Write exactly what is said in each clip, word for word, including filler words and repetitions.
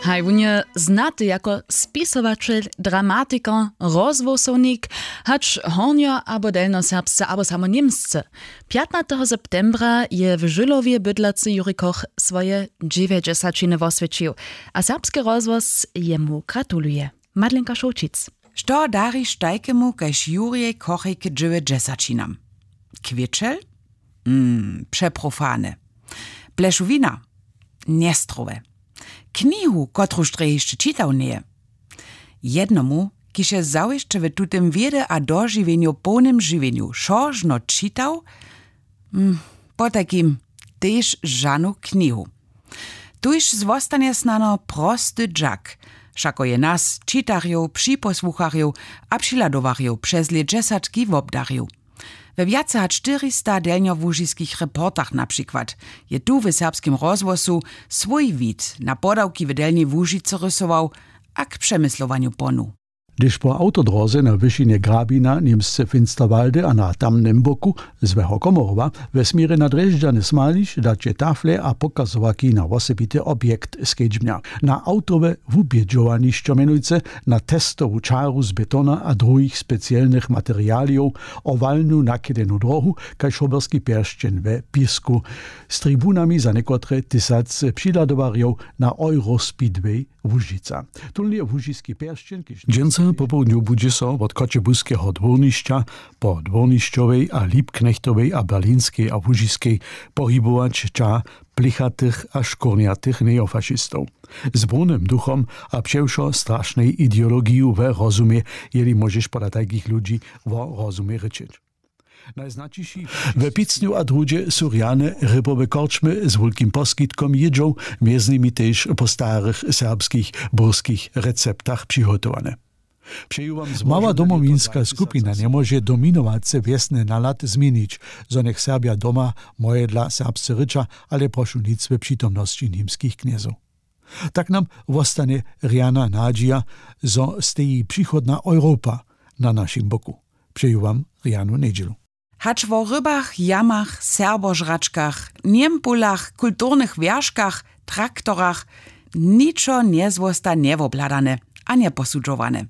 Haj wón je znaty jako spisowaćel, dramatikar, rozhłosownik, hač hornjo abo delnjoserbsce abo samo němsce. Pjatnateho septembra je w žylowje bydlacy jurikoch swoje dźewjećdźesaćiny woswjećił, a serbski rozhłos jemu gratuluje. Madlenka Šołćic. Što dariš tajkemu kaž jurjej kochej k dźewjećdźesaćinam? Kwěčel? Mm, přeprofane. Plešowina? Njestrowe. Knihu, kotruž drje hišće čitał njeje? Jednomu, kiž je zawěsće w tutym wědy a dožiwjenju połnym žiwjenju wšo žno čitał, hm, potajkim tež žanu knihu. Tuž zwostanje snano prosty dźak, wšako je nas, čitarjow, připosłucharjow a přihladowarjow přez lět dźesatki wobdarił. We wjace hač štyrista delnjołužiskich reportach na přikład je tu w serbskim rozhłosu swój wid na podawki w delnjej łužicy rysował a k přemyslowanju ponuł. Hdyž po awtodróze na wyšinje grabina němsce finsterwaldy a na tamnym boku złeho komorowa we směrje na drježdźany smališ daće tafle a pokazowarki na wosebity objekt skedźbnja, na awtowe wubědźowanišćo, mjenujcy na testowu čaru z betona a druhich specielnych materialijow, owalnu nakedenu dróhu kaž hoberski pjeršćeń we pěsku, z tribunami za někotre tysac přihladowarjow na eurospeedway łužica. Tón je łužiski pjeršćeń kiž dźensa popołdnju budźe so wot choćebuskeho dwórnišća po dwórnišćowej a lipknechtowej a berlinskej a łužiskej pohibować ćah plichatych a škurnjatych neofašistow z brudnym duchom a přewšo strašnej ideologiju we rozumje, jeli móžeš pola tajkich ludźi wo rozumje rěčeć. Najznaćiši we picnju a druhdźe su rjane rybowe korčmy z wulkim poskitkom jědźow, mjez nimi tež po starych serbskich burskich receptach přihotowane. Mała domowinska skupina njemóže dominowace wjesny nalad změnić, zo njech serbja doma mojedla serbsce rěča, ale prošu nic we přitomnosći němskich knjezow. Tak nam wostanje rjana nadźija, zo steji přichodna europa na našim boku. Přeju wam rjanu njedźelu. Hač wo rybach, jamach, serbožračkach, njempulach, kulturnych wjerškach, traktorach, ničo njezwosta njewobhladane a njeposudźowane.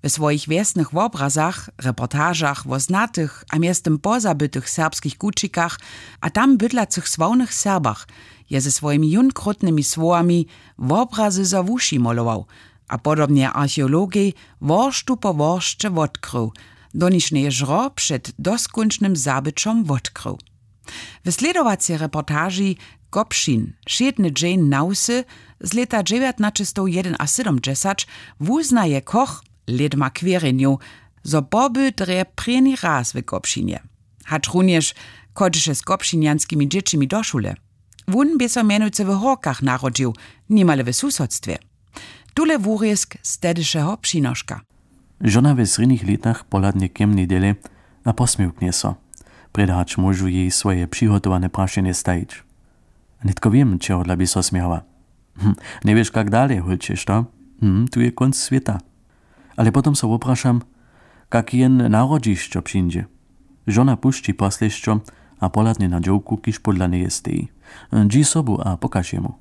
We swojich wjesnych wobrazach, reportažach wo znatych a mjeztym pozabytych serbskich kućikach a tam bydlacych sławnych serbach je ze swojimi jónkrótnymi słowami wobrazy za wuši molował a podobnje archeologej worštu po woršće wotkrył, doniž njeje žro před doskónčnym zabyćom wotkrył. W slědowacej reportaži Kopšin, wšědny dźeń na wsy z lěta dźewjatnaćestowjedenasydomdźesać wuznaje koch lědma kwěrjenjow, zo poby drje prěni raz w Kopšinje, hač runjež chodźeše z kopšinjanskimi dźěćimi do šule. Wón bě so mjenujcy w horkach narodźił, nimale w susodstwje. Tule wurězk z tehdyšeho přinoška. Žona we srjednich lětach pohladnje k jemnej dele a posměwknje so, prjedy hač móžu jej swoje přihotowane prašenje stajić. Nětko wěm, čehodla bě so smějała. Hm, njewěš kak dale, hólče, što? Hm, tu je kónc swěta. Ale potom so woprašam, kak jen narodźišćo přińdźe. Žona pušći poslěšćo a pohladnje na dźowku, kiž pódla njeje steji. Dźi sobu a pokaž jemu.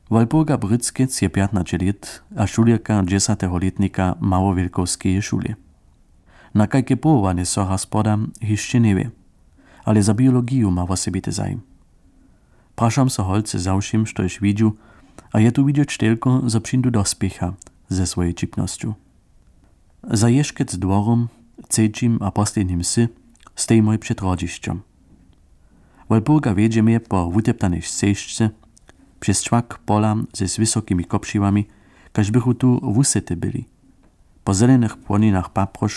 Wolburga Bryckec je pjatnaće lět a šulerka dźesateho lětnika małowjelkowskeje šule. Na kajke powołanje so hasporda, hišće njewě, ale za biologiju ma wosebity zajim. Prašam so holcy za wšěm, štož widźu, a je tu widźeć telko, zo přińdu do spěcha ze swojej ćipnosću. Za ješkec dworom, třećim a poslednim wsy, stejimoj před hrodźišćom. Wolburga wjedźe mje po wuteptanej scežce přez čwak pola z wysokimi kopřiwami, kaž bychu tu wusety byli. Po zelenych płoninach paprož